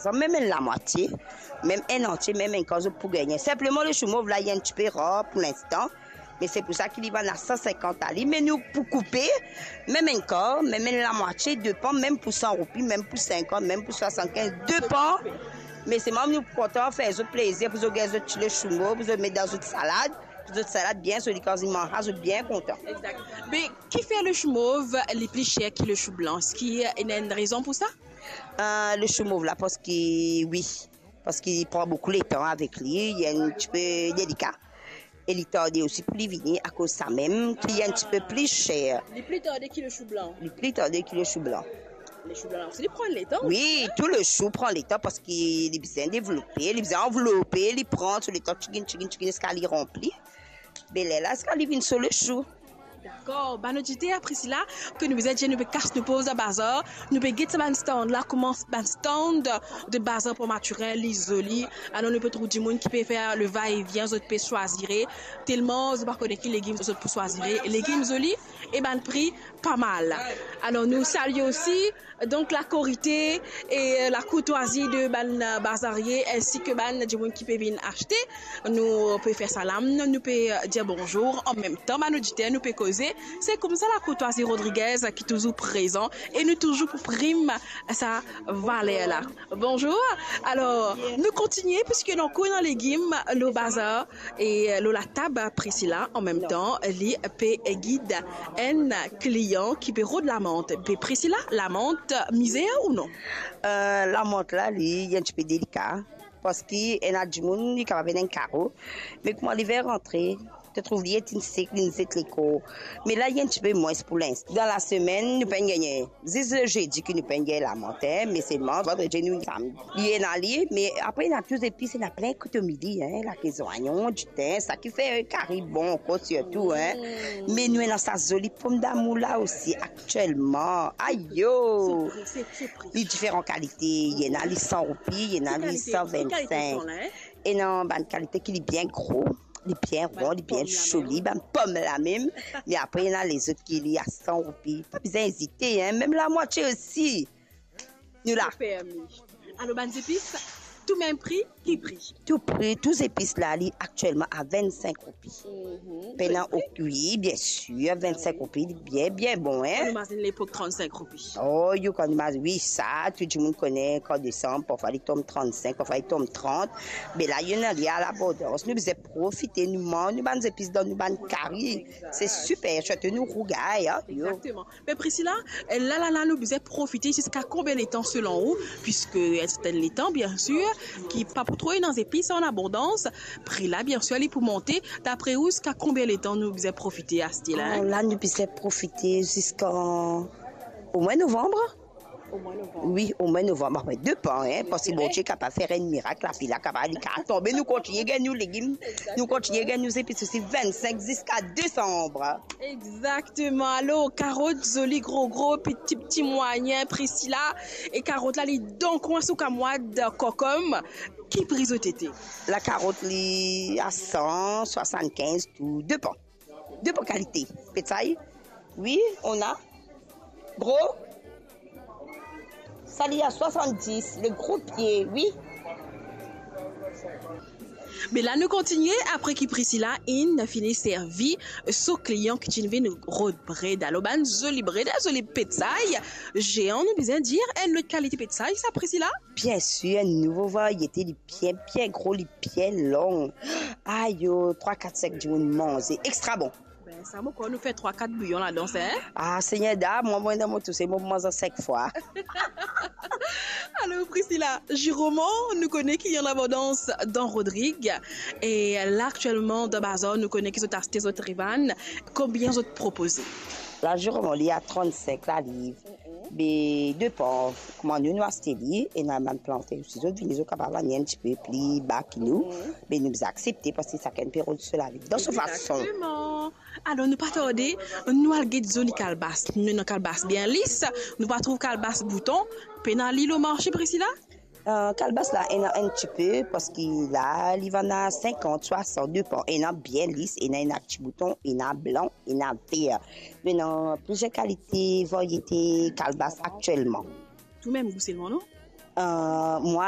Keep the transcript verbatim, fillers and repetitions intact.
Sa mem enn lamwatie, mem enn antie, mem enn kar zot pou gagne. Sinpleman, le chou mov la, li enn tipe rar pou linstan. Me se pou sa ki li vann a san sinkant ali, me nou pou koupe, mem enn kar, mem enn lamwatie, depan, mem pou san roupi, mem pou sinkant, mem pou swasannkinz, depan. Me selman nou pou kontan fer zot plezir, pou zot gagn zot ti le chou mov, pou zot met dan zot salad, pou zot salad bien zoli, kan zot manz, zot bien kontan. Exact. Me kifer le chou mov li pli ser ki le chou blan? Eski ena enn rezon pou sa? Euh, le chou mov la, parski, wi, parski li pran boukou letan avek li, li enn tipe delika. E li tarde osi pou li vini, akoz sa mem ki li enn tipe pli ser. Li pli tarde ki le chou blan? Li pli tarde ki le chou blan. Le chou blan la osi, li pran letan. Wi, tou le chou pran letan, parski li bizin devlope, li bizin anvlope, li pran so letan, tigin, tigin, tigin, ziska li ranpli. Be lerla, ziska li vinn so le chou. Dakor, bann oditer, Priscilla, ki nou bizin dir, nou pe kas nou poz dan bazar, nou pe get sa bann stand la, kouma bann stand de bazar Port Mathurin li zoli. Alor nou pe trouv dimoun ki pe fer le va-et-vient, zot pe swazire, telman zot pa kone ki legim zot pou swazire. Legim zoli e bann pri pa mal. Alor nou salie osi, donk, lakorite e lakourtwazi de bann, euh, bazarie, ensi ki bann dimoun ki pe vinn aste. Nou pe fer salam, nou pe, euh, dir bonzour, anmemtan bann oditer nou pe koze. Se koumsa lakourtwazi Rodriguez ki touzour prezan e nou touzour pou prim sa valer la. Bonzour. Alor, nou kontigne, piski nou ankor ena legim lor bazar e lor latab Priscilla, anmemtan li pe gid enn klian ki pe rod lamant. Be Priscilla, lamant mizer ou non? Euh, lamant la, li enn tipe delika, parski ena dimoun, li kapav ena enn karo, me kouma liver rantre, to trouv li ete sek, li zet lekor. Me la, li enn tipe mwins pou linstan. Dan lasemenn, nou pa'nn gagne. Zis le zedi ki nou pa'nn gagn lamant, me selman vandredi, nou samdi. Li ena li, me apre ena tou zepis, ena plin kotomili, hein, lake zwayon, ditin, sa ki fer kari bon ankor sirtou, hein. Mm. Me nou ena sa zoli pomdamour la osi aktielman. Ayo! Se pri, se, se pri. Li diferan kalite, li ena li san roupi, li ena li san vennsink. Ki kalite, ki kalite sa la, hein? Ena bann kalite ki li bien gro, li bien ron, li bien zoli, bann pom la mem. Me apre, ena lezot ki li a san roupi. Pa bizin ezite, hein, mem lamwatie osi. Nou la. Permi. Alor, bann zepis, tou mem pri, ki pri? Tou pri, tou zepis la, li aktielman a vennsink roupi. Mhm. Pena, wi, bien sir, vennsink roupi, li bien, bien bon, hein. Kan nou mazin lepok, trannsink roupi. Oh, you can imagine, wi, sa, tou dimoun kone, kan desanm, parfwa li tom trannsink, parfwa li tom trant. Me la, li ena li a labondans. Nou bizin profite, nou manz nou bann zepis dan nou bann kari. Se siper, sirtou nou rougay, hein, yo. Exactement. Me Priscilla, la, la, la, nou bizin profite ziska konbien letan selon ou? Piski enn sertin letan, bien sir, ki pa pou tro ena zepis an abondans, pri la, bien sir, li pou monte. Dapre ou, ziska konbien letan nou bizin profite aste la, hein? Oh, la, nou bizin profite ziska omwin novanm. Omwin novanm. Wi, omwin novanm. Apre, depan, hein, parski Bondie kapav fer enn mirak, lapli la kapav, li kapav tonbe, nou kontigne gagn nou legim, nou kontigne gagn nou zepis osi, vennsink ziska desanm. Exactement. Alor, karot, zoli, gro, gro, piti, piti, mwayin, Priscilla. E karot la, li dan kwin sou kamwad, kokom. Ki pri zot ete? Lakarot, li a san swasannkinz, tou depan. Depan kalite. Petsay, wi, on a. Gro. Sa li a swasanndis, le gro pie, wi. Me la nou kontigne, apre ki Priscilla inn fini servi so klian ki ti vinn rod bred. Alor, bann zoli bred, zoli petsay zean, nou bizin dir, enn lot kalite petsay sa, Priscilla? Bien sir, enn nouvo variete, li bien, bien gro, li bien long. Ayo, trwa, kat, sink dimoun manze. Extra bon. Ben, sa mo krwar nou fer trwa, kat bouyon ladan, hein? Ah, Segner da, mwa, mwa, dan mo tousel, mo manz sink fwa. Alor, Priscilla, ziroman, nou kone ki li an abondans dan Rodrig. E la, aktielman, dan bazar, nou kone ki zot aste, zot revann. Konbien zot propoze? La, ziroman, li a trannsink laliv. Be depan kouma nou, nou aste li, ena bann planter osi, zot vini, zot kapav vann enn tipe pli ba ki nou, me nou bizin aksepte parski sakenn pe rod so lavi dan so fason. Exactement. Alor, nou pa tarde, nou al get zoli kalbas. Nou ena kalbas bien lis, nou pa trouv kalbas bouton. Pena li lor marse, Priscilla? Euh, kalbas la, ena enn tipe, parski la, li vann a sinkant, swasant, depan. Ena bien lis, ena, ena ti bouton, ena blan, ena ver. Me ena plizier kalite, variete kalbas aktielman. Tou mem gou selman, non? Euh, mwa,